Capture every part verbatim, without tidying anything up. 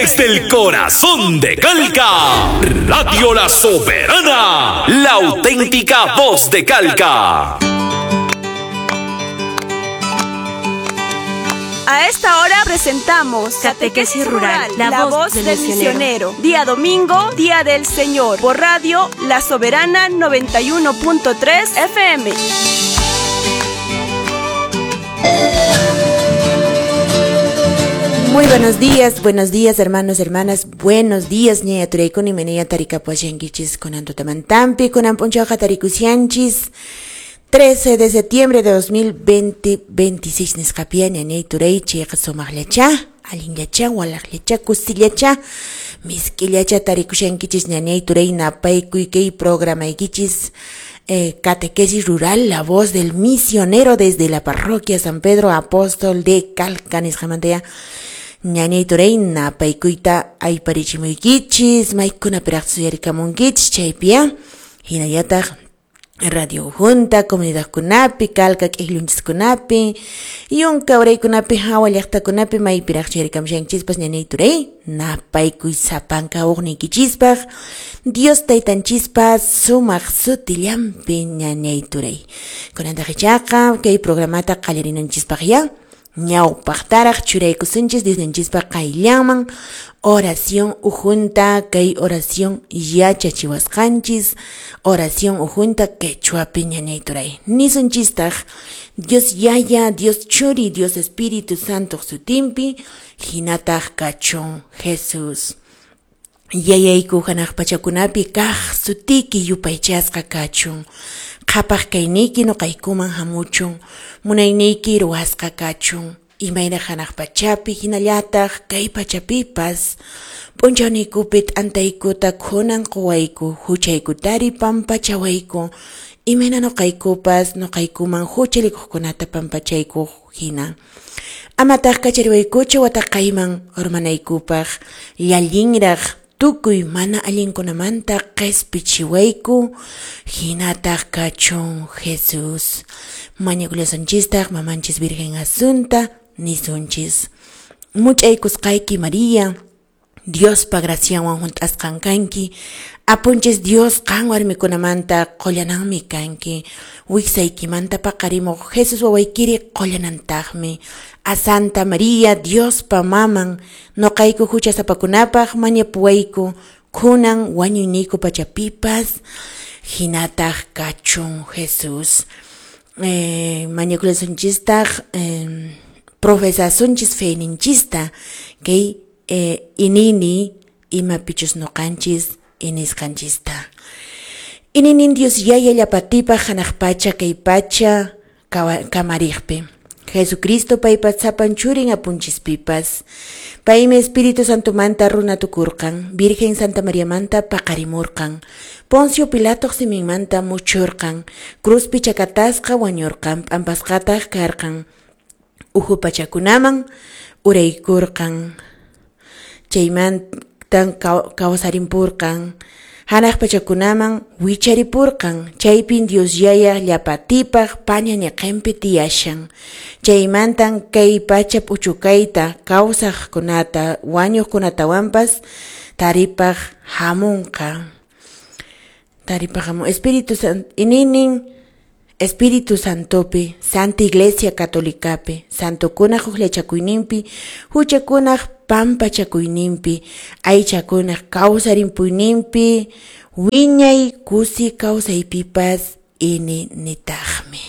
Desde el corazón de Calca, Radio La Soberana, la auténtica voz de Calca. A esta hora presentamos Catequesis Rural, la, la voz, voz del, del misionero. misionero. Día domingo, Día del Señor, por Radio La Soberana noventa y uno punto tres F M. Muy buenos días, buenos días hermanos, hermanas, buenos días, ñaya turaykuni menaya tarikapuashankichis kunan tutamantampi, kunan p'unchawqa tarikusianchis, trece de septiembre de dos mil veinte, veintiséis nisqapia ñañay turay chayqa sumaqllacha, allinllacha, walaqllacha, kusillacha, misk'illacha tarikushankichis ñañay turay napaykuy kay programaykichis. Eh, Catequesis Rural, la voz del misionero desde la parroquia San Pedro Apóstol de Calca, nisqamantaya. Ñañay turay napaykuyta ayparichimuykichis, maykuna piraqsuyarikamunkichis chaypiya, hinallataq Radio Junta, comunidadkunapi, Calca k'ijlunchiskunapi, yunka uraykunapi, hawa llaqtakunapi, maypiraqchayarikamushanchispas ñañay turay napaykuy sapanka uqniykichispaq, Dios taytanchispas sumaq sutillanpi ñañay turay. Kunantaq ichaqa kay programata qallarinanchispaq ya, ñawpaqtaraq churaykusunchis Diosninchispaq qayllanman oración ujunta, kay oración yachachiwasqanchis, oración ujunta quechuapi ñañay turay. Nisunchistaq Dios Yaya, Dios Churi, Dios Espíritu Santo sutinpi, hinataq kachun Jesús. Yayayku hanaq pachakunapi kaq sutiki yupaychasqa kachun. Qhapaq kayniyki nuqaykuman hamuchun, munayniyki ruwasqa kachun. Imayna hanaq pachapi hinallataq kay pachapipas p'unchawniykupi t'antaykuta kunan quwayku, huchaykutari pampachawayku, imayna nuqaykupas nuqaykuman huchalikuqkunata pampachayku hina. Amataq kachariwaykuchu wataqayman urmanaykupaq, llallinraq tukuy mana allinkunamanta qhispichiwayku, hinataq kachun Jesús. Mañakullasunchistaq mamanchis Virgen Asunta nisunchis. Much'aykusqayki María, Diospa gracianwan hunt'asqan kanki, apunchis Dios qan warmikunamanta qullananmi kanki, wiksaykimanta paqarimuq Jesús wawaykiri qullanantaqmi. A Santa María, Diospa maman, nuqayku huchasapakunapaq mañapuwayku, kunan wañuyniyku pachapipas, hinataq kachun Jesús. Eh, mañakullasunchistaq eh, profesasunchis feyninchista, kay eh, inini imapichus nuqanchis inisqanchista. Ininin Dios Yaya llapatipaq hanaq pacha kay pacha kamariqpi. Jesucristo paypa sapan churin apunchispipas. Paymi Espíritu Santomanta runa tukurqan, Virgen Santa Mariamanta paqarimurqan, Poncio Pilato siminmanta muchurqan, cruzpi chakatasqa wañurqan, p'ampasqataq karqan, uhu pachakunaman uraykurqan, chaymantan kawsarimpurqan, hanaq pachakunaman wicharipurqan, chaypin Dios Yaya llapatipaq paña ñiqinpi tiyashan, chaymantan kay pacha p'uchukayta kawsaqkunata wañuqkunatawanpas taripaq hamunqa. Taripaq hamun Espíritu Santo ininin Espíritu Santopi, Santa Iglesia Católicapi, Santokunaq hukllachakuyninpi, huchakunaq pampachakuyninpi, aychakunaq kawsarimpuyninpi, wiñay kusi kawsaypipas ininitaqmi.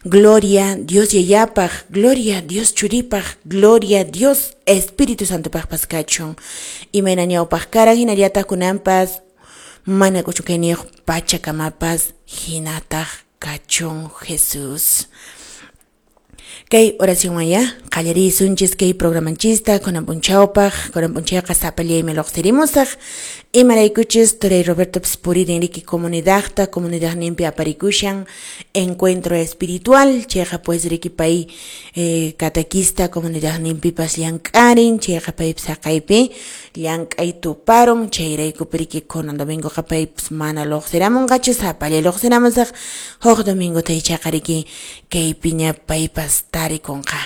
Gloria Dios Yayapaq, gloria Dios Churipaq, gloria Dios Espíritu Santopaqpas kachun. Imayna ñawpaq karan hinallataq kunanpas, mana k'uchukayniyuq pachakamapas hinataq kachun Jesús. Kay oración maya, qallarisunchis kay programanchista, kunan p'unchawpaq, kunan p'unchayqa sapallaymi lluqsirimusaq, imaraykuchis turay Roberto puririn riki comunidadta, comunidadninpi aparikushan, encuentro espiritual, chayqa pues riki pay eh, catequista comunidadninpipas llank'arin, chayqa paypis haqaypi llank'ay tuparun, chayrayku riki kunan domingoqa paypis mana lluqsiramunqachu, sapallay lluqsiramusaq, huk domingota ichaqa riki kaypiña paypas tarikunqa.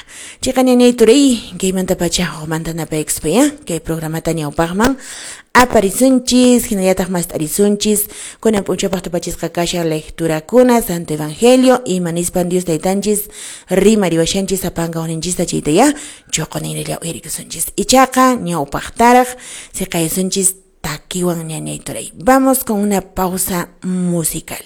Chiqa ñañay turay, kaymantapacha hukmanta napaykuspa ya, kay programata ñawpaqman aparisunchis, hinallataq mast'arisunchis, kunan p'unchawpaq tupachisqa kashan lecturakuna, Santo Evangelio, ima nispan Dios taytanchis rimariwashanchis sapanka uninchista chayta ya, chuqunirilla uyarikusunchis. Ichaqa ñawpaqtaraq siqaysunchis takiwan ñañay turay. Vamos con una pausa musical.